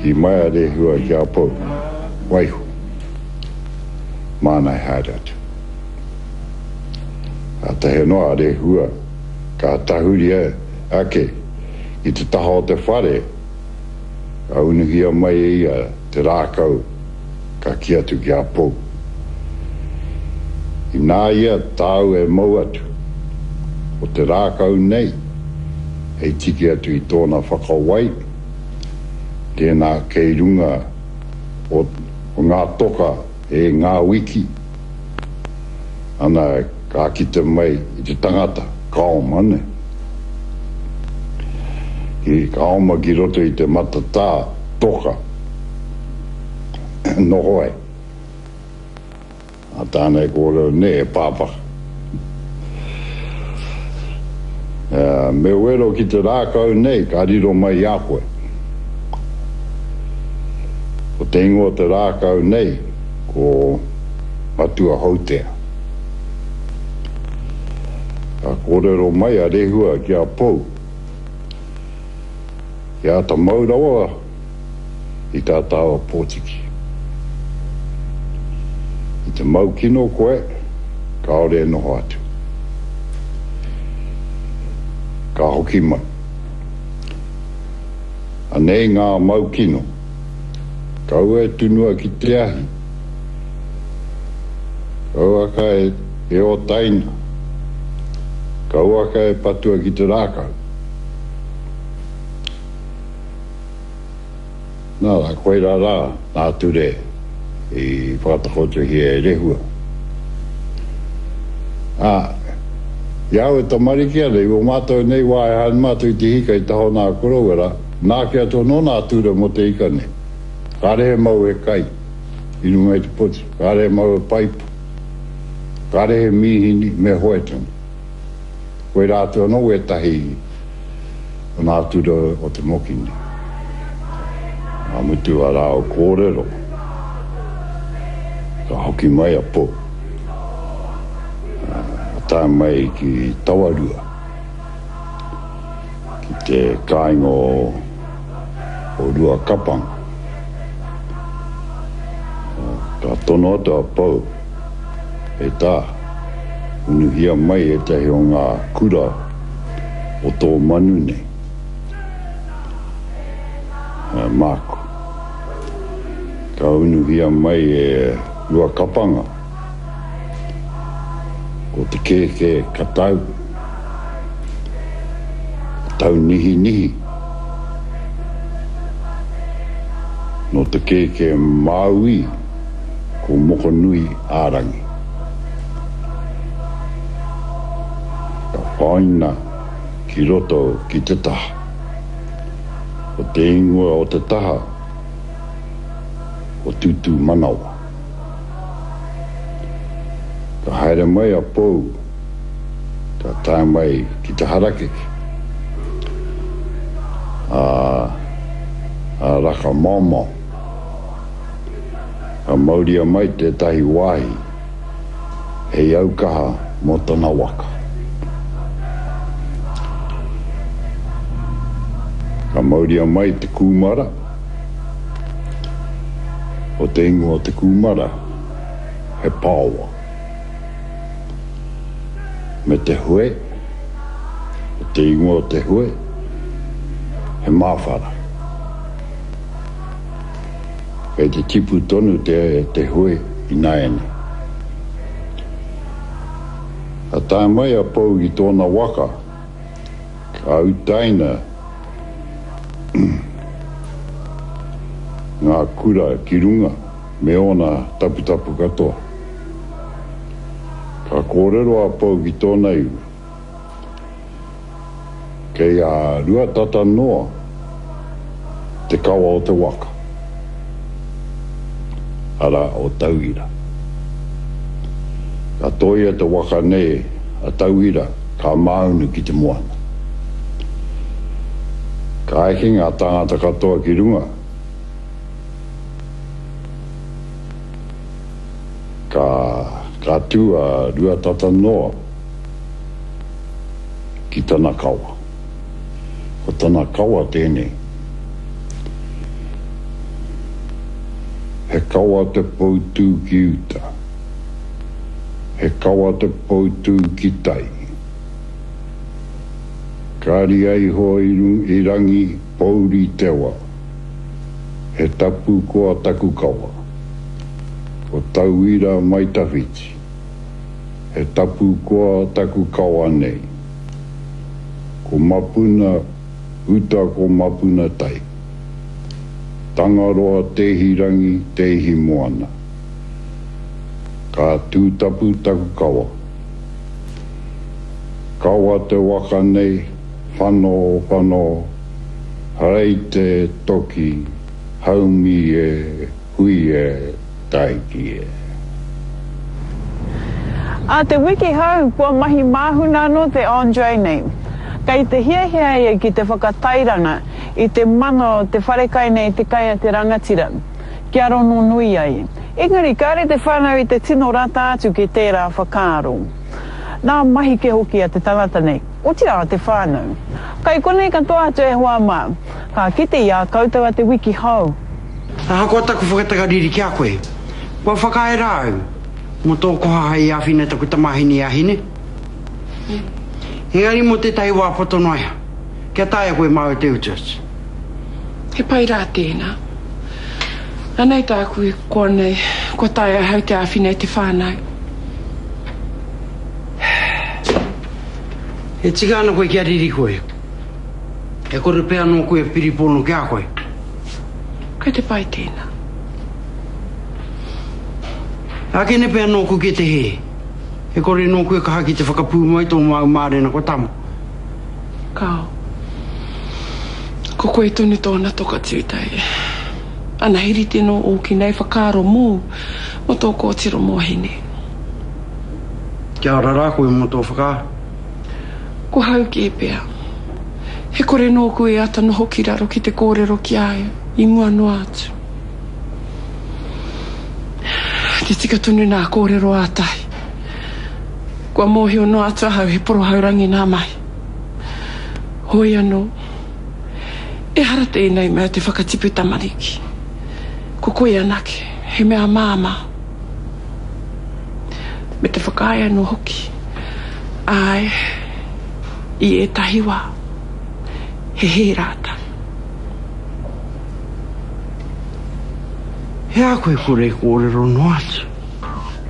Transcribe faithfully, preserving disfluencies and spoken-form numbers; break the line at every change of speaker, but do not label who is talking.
Kī mai a Rehua ki a Pou, Waiho, māna e haere atu. Kātahi anō a Rehua ka tahuri ake ki te taha o te whare, ka unuhia mai e ia te rākau ka kī atu ki a Pou, Inā ia tāu e mau atu, ko te rākau nei hei tiki atu i tōna whakawai, tēnā kei runga o ngā toka e ngā wiki, ana ka kite mai i te tangata, ka oma, nē. Ka oma ki roto i te matatā toka noho ai. A tāna e kōrero nei, e pāpaka. Me wero ki te rākau nei, ka riro mai i a koe. Ko te ingoa o te rākau nei, ko Matua Houtea. Ka kōrero mai a Rehua ki a Pou, Kia āta mau rawa i tā tāua pōtiki. I te mau kino koe, kāore e noho atu. Ka hoki mai. Anei ngā mau kino. Kaua e tunua ki te ahi. Kauaka e ōtaina. Kauaka e patua ki te rākau. Nā rā, koirā rā ngā ture i whakatakotohia e Rehua. Ā, i a au e tamariki ana, i ō mātou nei wā e haere mātou i te hika i taha o nā koroua rā, nāke atu anō nā ture mō te ika nei. Kāre he mau he kai i runga i te poti, kāre he mau he paipa, kāre he mīhini, me hoe tonu. Koirā atu anō wētahi o ngā ture o te moki nei. Ka mutu a rāua kōrero, ka hoki mai a Pou. Ka tae mai ki Tawarua, ki te kāinga o Ruakapanga. Ka tono atu a Pou, E tā, unuhia mai ētahi o ngā kura o tō manu nei. Māku. Ka unuhia mai e Ruakapanga, ko te kēkē katau, taunihinihi, nō te kēkē Māui, ko Mokonui ā-rangi. Ka whāina ki roto ki te taha. Ko te ingoa o te taha ko Tūtūmanawa. Ka haere mai a Pou, ka tae mai ki te harakeke, a, a Rakamaomao. Ka mauria mai tētahi wāhi hei aukaha mō tana waka. Ka mauria mai te kūmara, ko te ingoa o te kūmara he paowa, me te hue, ko te ingoa o te hue he māwhara. Kei te tipu tonu te hue ināianei. Ka tae mai a Pou ki tōna waka, ka utaina ngā kura ki runga me ōna taputapu katoa. Ka kōrero a Pou ki tōna iwi. Kei a Ruatata noa te kawa o te waka, arā, o Tauira. Ka tōia te waka nei a Tauira ka māunu ki te moana. Ka eke ngā tāngata katoa ki runga, ka, ka tū a Ruatata noa ki tana kawa. Ko tana kawa tēnei. He kawa te poutū ki uta. He kawa te poutū ki tai. Ka ria iho i rangi pouri te wa. He tapu koa taku kawa. Ko tauira mai tawhiti. He tapu koa taku kawa nei. Ko mapuna uta ko mapuna tai. Tangaroa tehi rangi tehi moana. Ka tūtapu taku kawa. Kawa te waka nei, whano, whano, harei te toki, haumi e, hui e, taiki e.
A te wiki hou, kua mahi māhuna anō te Andre nei. Kei te hiahia ia ki te whakatairanga i te mana o te wharekai nei te kai a te rangatira, kia rono nui ai. Engari, kāre te whānau i te tino rata atu ki tērā whakaaro. Nā mahi ke hoki a te tangata nei, otirā a te whānau. Kai konei katoa atu e hoa mā, ka kite i a koutou a te wiki hou.
Ahakoa taku whakatakariri ki a koe, kua whakaae rā au mō tō koha hei āwhina taku tamāhine a Hine. Engari mō tētahi wā poto noa iho, kia taea koe māu te utu atu.
He pai rā tēnā. Anei tāku e koa nei, kua taea ahau te āwhina i te whānau.
E tika ana koe kia riri koe. E kore pea anō koe e piripono ki a koe.
Kei te pai tēnā.
Ākene pea nōku ki te hē. E kore nōku e kaha ki te whakapūmau tō māu mārena ko tama.
Kāo. Ko koe tonu tōna toka tūtei. Ana he rite nō ōki nei whakaaro mōu, mō tō kōtiro mō Hine.
Kia ora rā koe mō tō whakaaro.
Ko hau kē pea. He kore nōku e ata noho ki raro ki te kōrero ki a ia, i mua noa atu. Te tika tonu nā kōrero ātahi. Kua mōhio noa atu ahau he porohaurangi nā mahi. Hoi anō. Ehara tēnei mea te whakatipu tamariki. Ko koe anake, he mea māmā. Me te whakaae anō hoki. Āe, i ētahi wā, he hē rātou.
He aha koe kore e kōrero noa atu?